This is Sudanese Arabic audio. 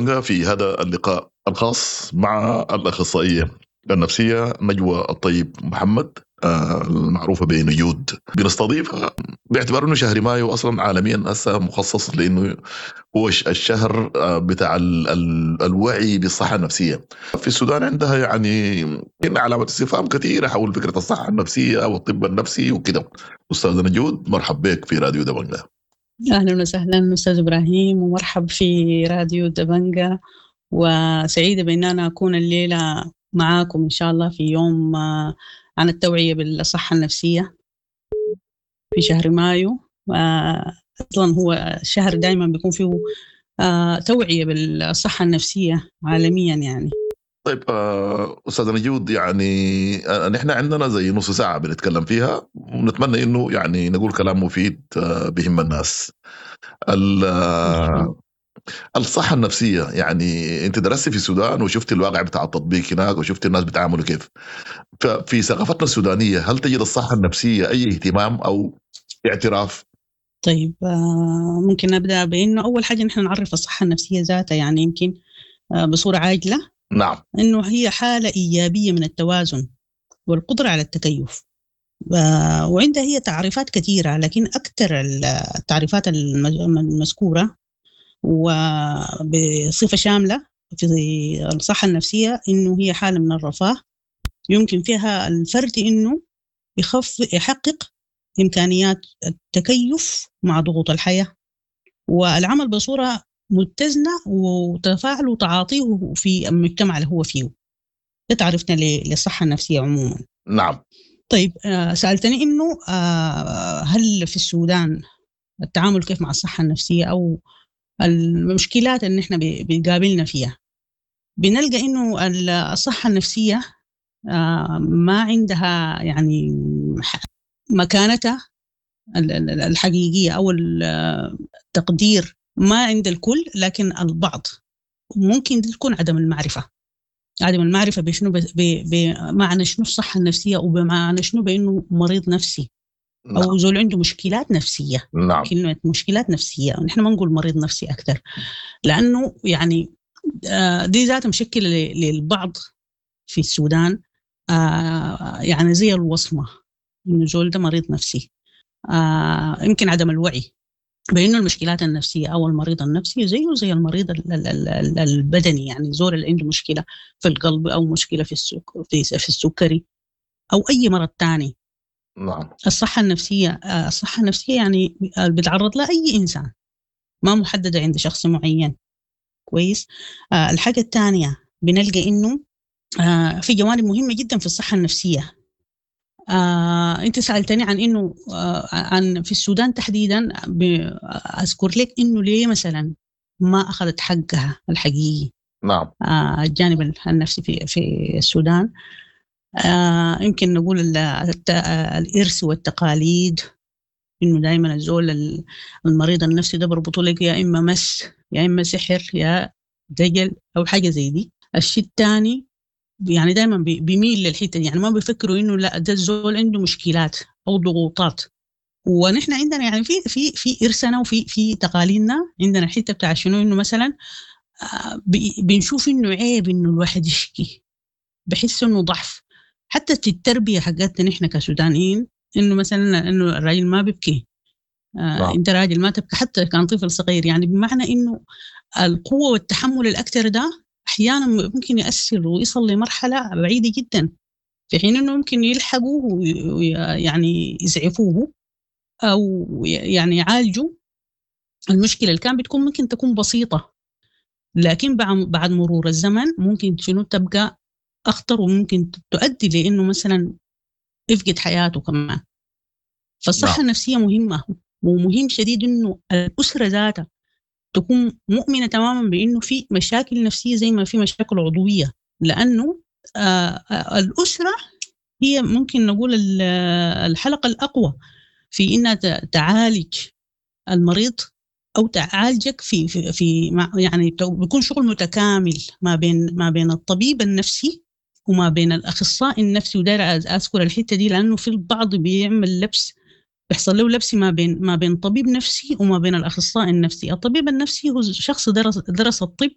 دبنقا في هذا اللقاء الخاص مع الأخصائية النفسية نجوى الطيب محمد، المعروفة بنجود. بنستضيفها باعتبار انه شهر مايو اصلا عالميا هسه مخصص لانه هو الشهر بتاع الوعي بالصحة النفسية. في السودان عندها علامة استفهام كثيرة حول فكرة الصحة النفسية والطب النفسي وكده. أستاذة نجود، مرحب بك في راديو دبنقا. أهلا وسهلا أستاذ إبراهيم، ومرحب في راديو دبنقا، وسعيدة بأن أنا أكون الليلة معاكم إن شاء الله في يوم عن التوعية بالصحة النفسية في شهر مايو. أصلا هو الشهر دايما بيكون فيه توعية بالصحة النفسية عالميا. طيب أستاذة نجود، نحن عندنا زي نص ساعة بنتكلم فيها، ونتمنى إنه نقول كلام مفيد بهم الناس. الصحة النفسية، أنت درستي في السودان وشفتي الواقع بتاع التطبيق هناك وشفتي الناس بتعاملوا كيف. ففي ثقافتنا السودانية هل تجد الصحة النفسية أي اهتمام أو اعتراف؟ ممكن نبدأ بإنه أول حاجة نحن نعرف الصحة النفسية ذاتها، يمكن بصورة عاجلة. إنه هي حالة إيجابية من التوازن والقدرة على التكيف، وعندها هي تعريفات كثيرة، لكن أكثر التعريفات المذكورة وبصفة شاملة في الصحة النفسية إنه هي حالة من الرفاه يمكن فيها الفرد إنه يحقق إمكانيات التكيف مع ضغوط الحياة والعمل بصورة متزنة وتفاعله وتعاطيه في المجتمع اللي هو فيه. ده تعرفنا للصحة النفسية عموما. سألتني إنه هل في السودان التعامل كيف مع الصحة النفسية أو المشكلات اللي نحن بنقابلنا فيها. بنلقى إنه الصحة النفسية ما عندها مكانتها الحقيقية أو التقدير ما عند الكل، لكن البعض ممكن تكون عدم المعرفة. عدم المعرفة بشنو؟ بمعنى شنو الصحة النفسية، وبمعنى شنو بأنه مريض نفسي أو زول عنده مشكلات نفسية. كلمة مشكلات نفسية ونحن ما نقول مريض نفسي أكثر، لأنه دي ذاتها مشكلة للبعض في السودان، زي الوصمة إنه زول ده مريض نفسي. يمكن عدم الوعي بأنه المشكلات النفسية أو المريض النفسي زيه زي المريض البدني، زول اللي عنده مشكلة في القلب أو مشكلة في السكري أو أي مرض تاني. الصحة النفسية بتعرض لها أي إنسان، ما محددة عند شخص معين. كويس. الحاجة الثانية بنلقى إنه في جوانب مهمة جدا في الصحة النفسية. أنت سألتني عن إنه، عن في السودان تحديدا، أذكر لك إنه ليه مثلا ما أخذت حقها الحقيقي. الجانب النفسي في السودان، يمكن نقول الإرث والتقاليد، إنه دايما الزول المريض النفسي ده بربطوا لك يا إما مس يا إما سحر يا دجل أو حاجة زي دي. الشيء الثاني دايما بيميل للحتة دي، ما بيفكروا إنه لا ده الزول عنده مشكلات أو ضغوطات. ونحن عندنا في إرثنا وفي تقاليدنا عندنا الحتة بتاع شنو، إنه مثلا، بنشوف إنه عيب إنه الواحد يشكي، بحس إنه ضعف. حتى في التربية حقتنا نحن كسودانيين إنه مثلا إنه الراجل ما بيبكي، أنت راجل ما تبكي حتى كان طفل صغير، بمعنى إنه القوة والتحمل الأكثر ده أحيانا ممكن يأثر ويصل لمرحلة بعيدة جدا، في حين إنه ممكن يلحقوه يزعفوه أو يعالجوا المشكلة اللي كان بتكون ممكن تكون بسيطة، لكن بعد مرور الزمن ممكن شنو تبقى أخطر، وممكن تؤدي لإنه مثلا يفقد حياته كمان. فالصحة النفسية مهمة، ومهم شديد إنه الأسرة ذاتها تكون مؤمنة تماما بإنه في مشاكل نفسية زي ما في مشاكل عضوية، لأنه الأسرة هي ممكن نقول الحلقة الأقوى في إنها تعالج المريض أو تعالجك في، في، في مع، يعني بيكون شغل متكامل ما بين الطبيب النفسي وما بين الأخصائي النفسي. وداير أذكر الحتة دي لأنه في البعض بيعمل لبس، بيحصل له لبس ما بين طبيب نفسي وما بين الأخصائي النفسي. الطبيب النفسي هو شخص درس الطب